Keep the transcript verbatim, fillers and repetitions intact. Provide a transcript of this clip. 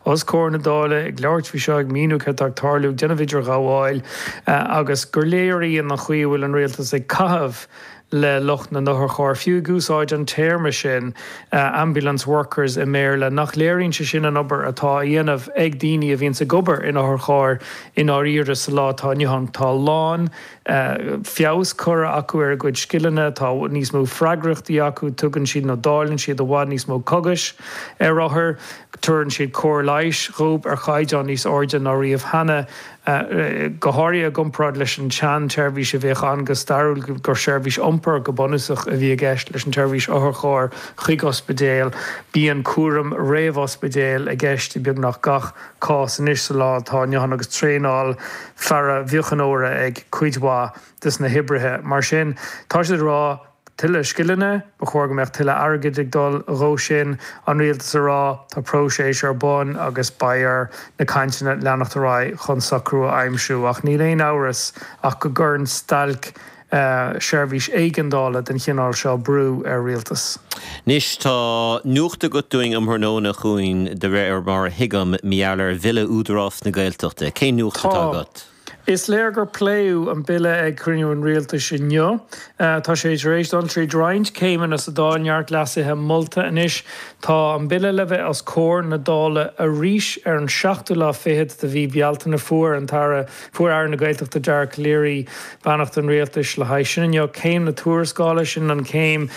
Os comhair na Dála ag labhairt faoi seo ag míniú cad tá ag tarlú déanamh idirghabháil agus gur léiríonn an chaoi a bhfuil an rialtas ag caitheamh le lucht na n-otharcharr, fiú ag úsáid an téarma sin ambulance workers i mBéarla, nach léiríonn sé sin an obair atá á dhéanamh ag daoine a bhíonns ag obair in otharchairr i ndáiríre sa lá atá inniu ann. Tá a lán feabhas curtha acu ar a gcuid scileanna, tá níos mó freagrachtaí acu, tugann siad nó dáileann siad i bhfad níos mó cogais ar othair, tabharann siad cóir leighis dhóibh ar chaighdeán níos airde ná riamh cheana, go háirithe i gcomparáid leis an tsean-tseirbhís a bhíodh ann go stairiúil, gur seirbhís iompair go bunúsach a bhí i gceist leis an tseirbhís otharchairr chuig ospidéal. Bíonn cúram réamh-ospidéil i gceist i beagnach gach cás anois sa lá atá inniu ann agus traenáil pharaimheochánóra ag cuid mhaith des na hoibrithe. Mar sin, tá siad ag rá tuilleadh scileanna, ba chóir go mbeadh tuilleadh airgid ag dul dhó sin, an rialtas ag rá tá próiseas ar bun agus beidh ar na cainteanna leanacht ar aghaidh chun socrú a aimsiú. Ach níl aon amhras ach go gcuireann stailc seirbhís éigeandála den chineál seo brú ar rialtas. Anois tá nuacht agat dúinn um thráthnóna chugainn de réir mar a thuigim, mar gheall ar Bhille Údarás na Gaeltachta. Cén nuacht atá agat? Is léir gur pléadh an bille ag cruinniú an rialtais inniu. Tá sé tar éis dul tríd roinnt céimeanna sa Dáil, neart leasuithe molta anois. Tá an bille le bheith os comhair na Dála arís ar an seachtú lá fichead de mhí Bealtaine. Fuair an tAire, fuair Aire na Gaeltachta Dara Calleary beannacht an rialtais le haghaidh sin inniu. Céim na tuarascála, sin an chéim